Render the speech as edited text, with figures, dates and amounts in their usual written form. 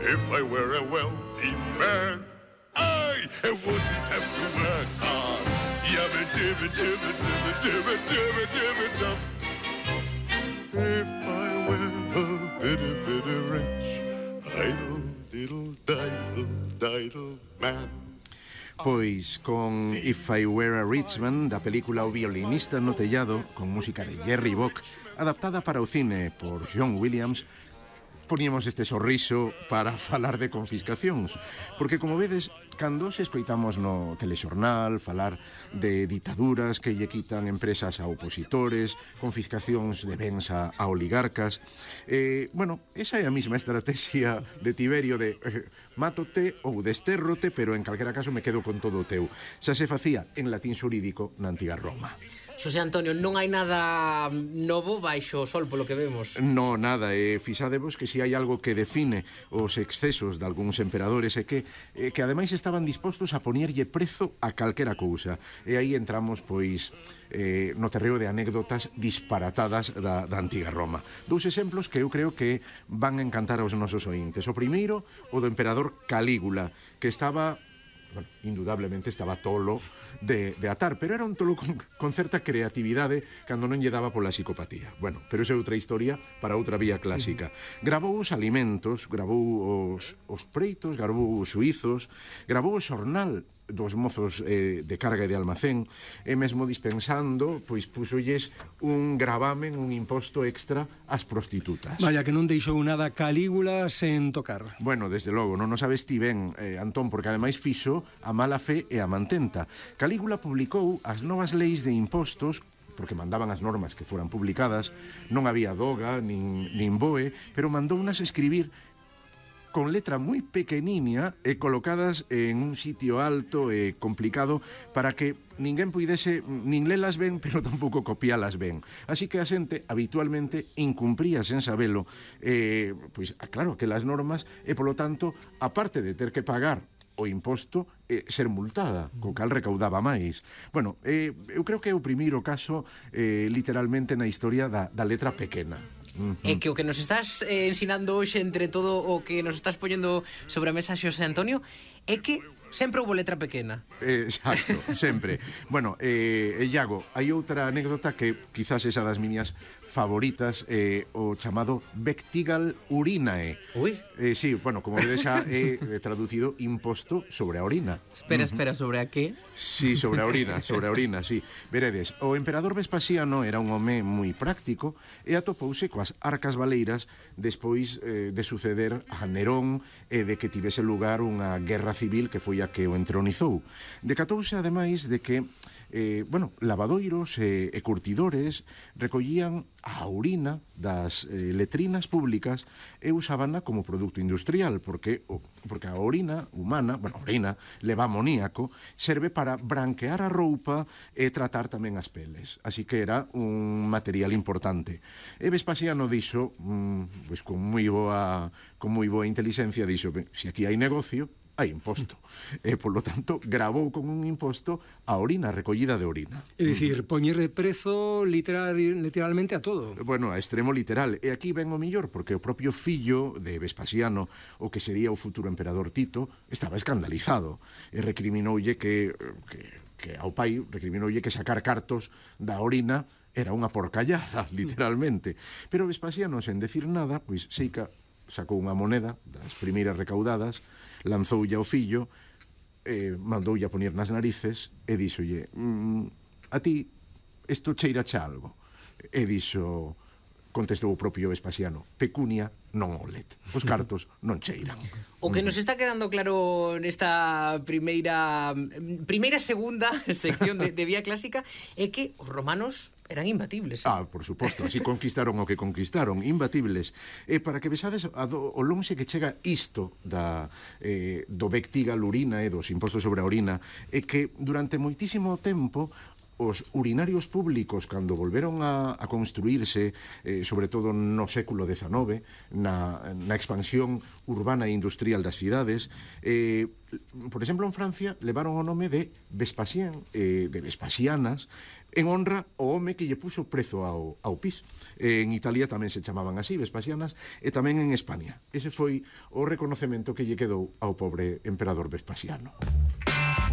If I were a wealthy man, I wouldn't have to work hard. Yabba dibba dibba dibba dibba dibba dibba dub. If I were a bit rich, idle diddle diddle diddle man. Pois con If I Were a Rich Man, da película O violinista no tellado, con música de Jerry Bock, adaptada para o cine por John Williams, poníamos este sorriso para falar de confiscacións, porque como vedes, cando se escoitamos no telexornal falar de ditaduras que lle quitan empresas a opositores, confiscacións de bens a oligarcas, bueno, esa é a mesma estrategia de Tiberio de mátote ou destérrote, pero en calquera caso me quedo con todo o teu. Xa se facía en latín xurídico na antiga Roma. Xosé Antonio, non hai nada novo baixo o sol, polo que vemos. No, nada, fixadevos que si hai algo que define os excesos de algúns emperadores é que ademais estaban dispostos a poñerlle prezo a calquera cousa. E aí entramos, pois, no terreo de anécdotas disparatadas da antiga Roma. Dous exemplos que eu creo que van a encantar aos nosos ointes. O primeiro, o do emperador Calígula, que estaba... Bueno, indudablemente estaba tolo de atar, pero era un tolo con certa creatividade cando non lle daba pola psicopatía. Bueno, pero esa é outra historia para outra vía clásica. Gravou os alimentos, gravou os preitos, gravou os suizos, gravou o xornal dos mozos de carga e de almacén, e mesmo dispensando, pois puxolles un gravamen, un imposto extra ás prostitutas. Vaya, que non deixou nada Calígula sen tocar. Bueno, desde logo, non o sabes ti ben, Antón, porque ademais fixo a mala fe e a mantenta. Calígula publicou as novas leis de impostos porque mandaban as normas que foran publicadas, non había doga nin boe, pero mandounas escribir con letra moi pequeniña e colocadas en un sitio alto e complicado para que ninguén puidese nin lelas ben, pero tampouco copialas ben. Así que a xente habitualmente incumpría sen sabelo, pois, claro, aquelas normas, e polo tanto, aparte de ter que pagar o imposto, ser multada, co cal recaudaba máis. Bueno, eu creo que é o primeiro caso literalmente na historia da letra pequena. É que o que nos estás ensinando hoxe, entre todo o que nos estás poñendo sobre a mesa, Xosé Antonio, é que sempre houve letra pequena. Exacto, sempre. Bueno, Iago, hai outra anécdota que quizás esa das miñas favoritas, o chamado Vectigal Urinae. Ui. Sí, bueno, como vedes xa é traducido imposto sobre a orina. Espera, sobre a que? Sí, sobre a orina, sí. Veredes, o emperador Vespasiano era un home moi práctico e atopouse coas arcas baleiras despois de suceder a Nerón e de que tivese lugar unha guerra civil que foi a que o entronizou. Decatouse ademais de que lavadoiros e curtidores recollían a orina das letrinas públicas e usábana como produto industrial, porque a orina humana, a orina leva amoníaco, serve para branquear a roupa e tratar tamén as peles. Así que era un material importante. E Vespasiano dixo, pois con moi boa inteligencia, dixo, se aquí hai negocio, hai imposto. E, polo tanto, gravou con un imposto a orina, recollida de orina. É dicir, poñerle prezo literalmente a todo. Bueno, a extremo literal. E aquí ven o millor, porque o propio fillo de Vespasiano, o que sería o futuro emperador Tito, estaba escandalizado. E recriminoulle que ao pai, recriminoulle que sacar cartos da orina era unha porcallada, literalmente. Pero Vespasiano, sen decir nada, pois seica sacou unha moneda das primeiras recaudadas, lanzoulle ao fillo, mandoulle a poñer nas narices e díxolle, a ti isto cheira xa algo. E dixo, contestou o propio Vespasiano, pecunia non olet, os cartos non cheiran. O que nos está quedando claro nesta segunda sección de Vía Clásica é que os romanos eran imbatibles. Por suposto, así conquistaron o que conquistaron, imbatibles. E para que vexades o lonxe que chega isto do Vectigal Urinae, dos impostos sobre a orina, é que durante moitísimo tempo os urinarios públicos, cando volveron a construírse, sobre todo no século XIX, na expansión urbana e industrial das cidades, por exemplo, en Francia, levaron o nome de Vespasien, de Vespasianas, en honra ao home que lle puso prezo ao pis. En Italia tamén se chamaban así, Vespasianas, e tamén en España. Ese foi o reconocemento que lle quedou ao pobre emperador Vespasiano.